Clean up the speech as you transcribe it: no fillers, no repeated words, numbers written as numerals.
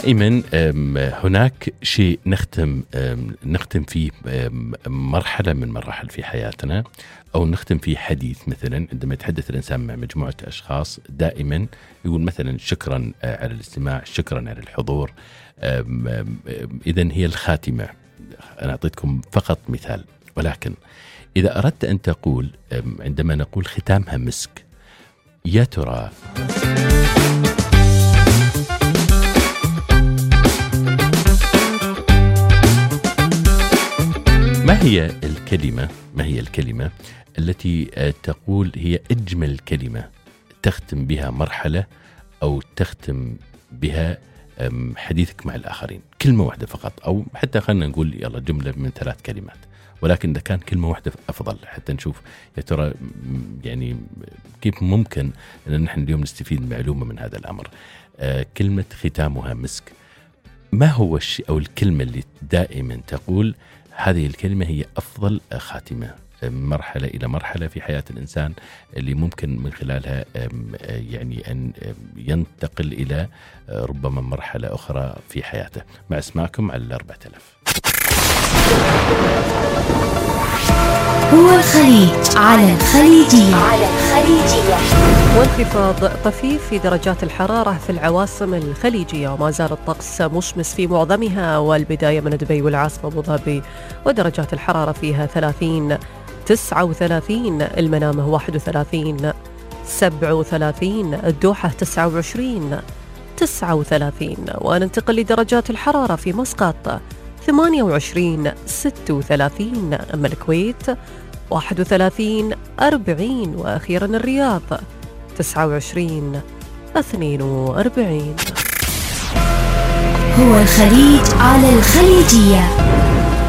دائما هناك شيء نختم فيه مرحلة من مراحل في حياتنا، أو نختم فيه حديث. مثلا عندما يتحدث الإنسان مع مجموعة أشخاص دائما يقول مثلا شكرا على الاستماع، شكرا على الحضور. إذن هي الخاتمة. أنا أعطيتكم فقط مثال، ولكن إذا أردت أن تقول عندما نقول ختامها مسك، يا ترى ما هي الكلمة التي تقول هي أجمل كلمة تختم بها مرحلة أو تختم بها حديثك مع الآخرين؟ كلمة واحدة فقط، أو حتى خلنا نقول يلا جملة من 3 كلمات، ولكن إذا كان كلمة واحدة أفضل، حتى نشوف يا ترى يعني كيف ممكن أن نحن اليوم نستفيد معلومة من هذا الأمر. كلمة ختامها مسك، ما هو الشيء أو الكلمة اللي دائما تقول هذه الكلمة هي أفضل خاتمة مرحلة إلى مرحلة في حياة الإنسان، اللي ممكن من خلالها يعني أن ينتقل إلى ربما مرحلة أخرى في حياته؟ مع اسمعكم على 4000. هو الخليج على الخليجية. وانخفاض طفيف في درجات الحرارة في العواصم الخليجية، وما زال الطقس مشمس في معظمها، والبداية من دبي والعاصمة أبو ظبي ودرجات الحرارة فيها 30 39، المنامة 31 37، الدوحة 29 39. وننتقل لدرجات الحرارة في مسقط 28 36، أما الكويت 31 40، وأخيرا الرياض 29 42. هو الخليج على الخليجية.